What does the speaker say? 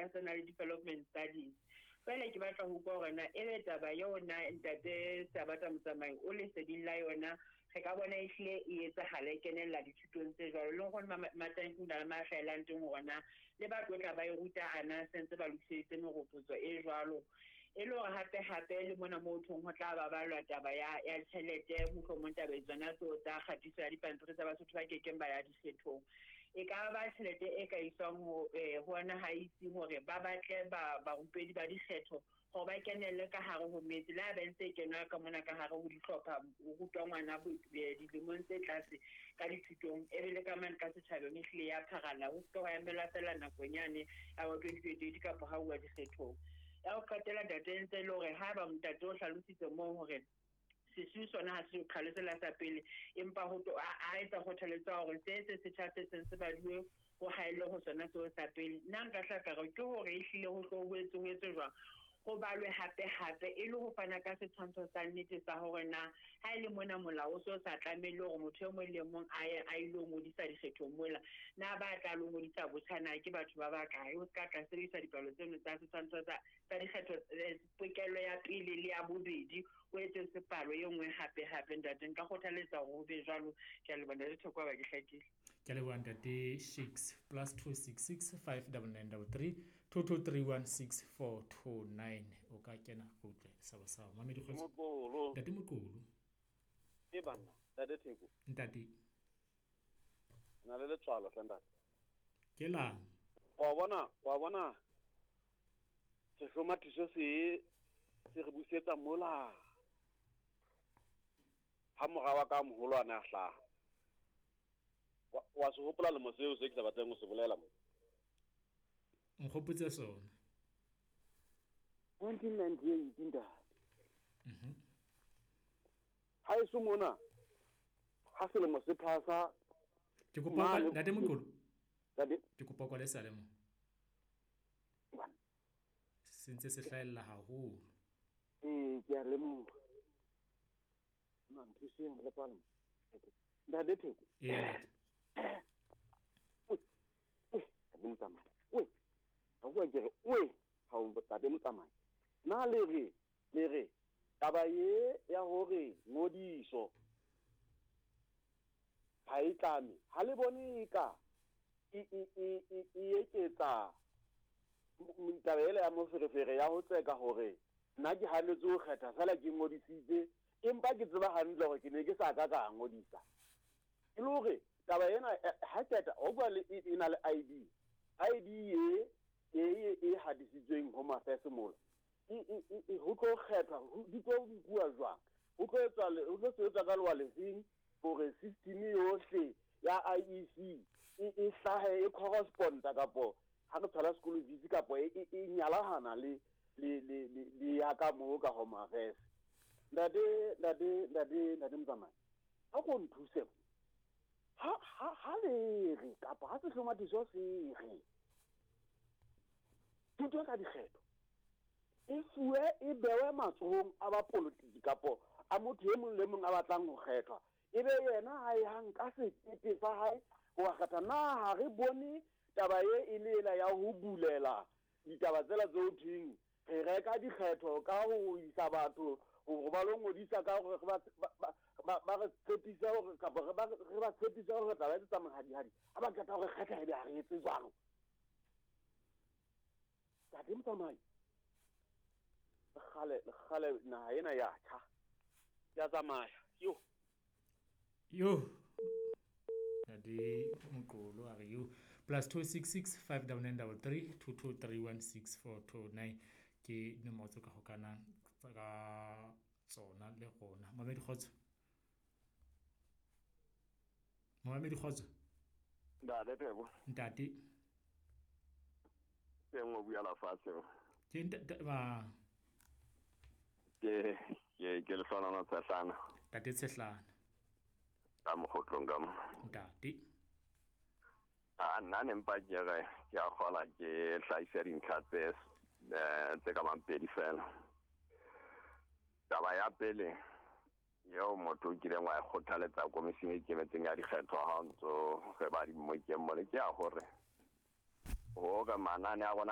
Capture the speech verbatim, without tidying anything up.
ka tsena le development studies. Jwale ke batla ho utlwa hore na ebe taba yona ntate Sabata Motsamai o leseding la yona, re ka bona ehlile e etsahala e kenella dithutong tse jwalo. Le hore Matanki na le mahlaelang teng hore na le ba tlo tla ba e ruta ana sentse ba lokiseditse meropotso e jwalo. E le hore hape hape le mona moo thong ho tla ba balwa taba ya ya tjhelete, mohlomong taba tsona tseo tsa kgatiso ya dipampiri tsa Basotho ba kekeng ba ya dikgethong. E ka ba tjhelete e ka iswang ho eh ho ona ha itse hore ba batle ba barupedi ba dikgetho hore ba kenelle ka hare ho metse, le ha ba ntse kenwa ka mona ka hare ho dihlopha ho rutwa ngwana dilemong tse tlase ka dithutong, e be le ka mane ka setjhabeng ehlile ya pharalla, ho se ke wa emelwa feela nakong yane ya bo twenty twenty-eight kapa ha uwa dikgethong. Ya ho qetela ntate ntse e le hore haeba ntate o hlalositse moo hore sesiu sona ha se qhalo sela sa pele, empa ho a etsa kgothaletso ya hore se se setjha se seng se baduwe ho haellwe ho sona seo sa pele. Nna nka hla ka re ke hore ehlile ho tlo ho etswe ho etswe jwang, ho balwe hape hape e le ho fana ka setshwantsho sa nnete sa hore na ha e le mona molao o so sa tlamehile hore motho e mong le mong a ye a ilo ngodisa dikgethong mola, na ba tla lo ngodisa botjha na ke batho ba bakae, ho ska tla sebedisa dipalo tseno tsa setshwantsho tsa tsa dikgetho pokelo ya pele le ya bobedi, o etse sepalo e nngwe hape hape. Ntate nka kgothaletsa hore ho be jwalo. Ke a leboha ntate Thoko, ba ke hlakile. Ke a leboha ntate Shakes. Plus two six six five double nine double three two two three one six four two nine. O ka kena go utlwe sabo sa mamedi kgotso. Moqolo. Ntate Moqolo. E banna, ntate Theko. Ntate. Na le letswalo hle ntate. Ke lang? Wa bona, wa bona. Sehlomathiso se se re busetsa mola. Ha mora wa ka moholo a ne a hlaha. Wa se hopola lemo seo se ke sa batleng ho se bolela mo. Nkgopotse sona. nineteen ninety-eight ntate. Mhm. Ha eso mona ha selemo se phasa ke kopa ntate Moqolo. Ntate ke kopa kwa le sale mo. Se ntse se hlahella haholo. Eh ke a lemoha. Na nthuseng le palmo. Ntate Theko. Eh. Ntate Motsamai. Oi. Ha bua ke re oi ha o ntate Motsamai. Na le re le re taba ye ya hore ngodiso ha e tlame ha le bone ka e e e e eketsa taba ele ya moferefere ya ho tseka hore nna ke hanetse ho kgetha fela ke ngodisitse empa ke tseba hantle hore ke ne ke sa ka ka ngodisa. E le hore taba ena ha qeta o bua le e na le I D I D e e e hadisitsweng Home Affairs mola e e e ho tlo kgethwa di tlo bua jwang, ho tlo etswa ho tlo sebetsa ka lewa lefeng hore system yohle ya I E C e e hlahe e corresponda kapo ha re thola school fees kapo e e nyalahana le le le le ya ka mo ka Home Affairs. Ntate ntate ntate ntate Motsamai ha go nthuse ha ha ha le re kapa ha sehlomathiso se re thuto ka dikgetho e fuwe e bewe matsohong a ba politiki kapo a motho e mong le mong a batlang ho kgethwa, e be yena ha e hang ka sekete sa hae ho kgetha. Na ha re bone taba e e le ela ya ho bulela ditaba tsela tseo thweng re reka dikgetho ka ho isa batho hore ba lo ngodisa ka hore ba ba ba re tshepisa hore kapa re ba re ba tshepisa hore taba e tsa mahadihadi ha ba qeta hore kgetha e be ha re etse jwalo. Ntate Motsamai kgale kgale naha ena ya tjha ya tsamaya yo yo Ntate Moqolo a re yo plus two six six five nine nine three three two two three one six four two nine ke nomoro tse ka hokanang ka tsona le rona. Mamedi kgotso. Mamedi kgotso. Ntate Theko. Ntate. Teng o bua la fatshe. Ke ntate ba ke ke ke le hlona Tshehlana. Ntate Tshehlana. Ka mokgotlong ka mo. Ntate. A nna ne mpa ke re ke a kgola ke hlahisa dintlha tse tse ka bang pedi fela. Taba ya pele eo motho o kileng wa e kgothaletsa komising e ikemetseng ya dikgetho ha o ntso re ba di mmokeng mole ke ya hore hore manane a rona a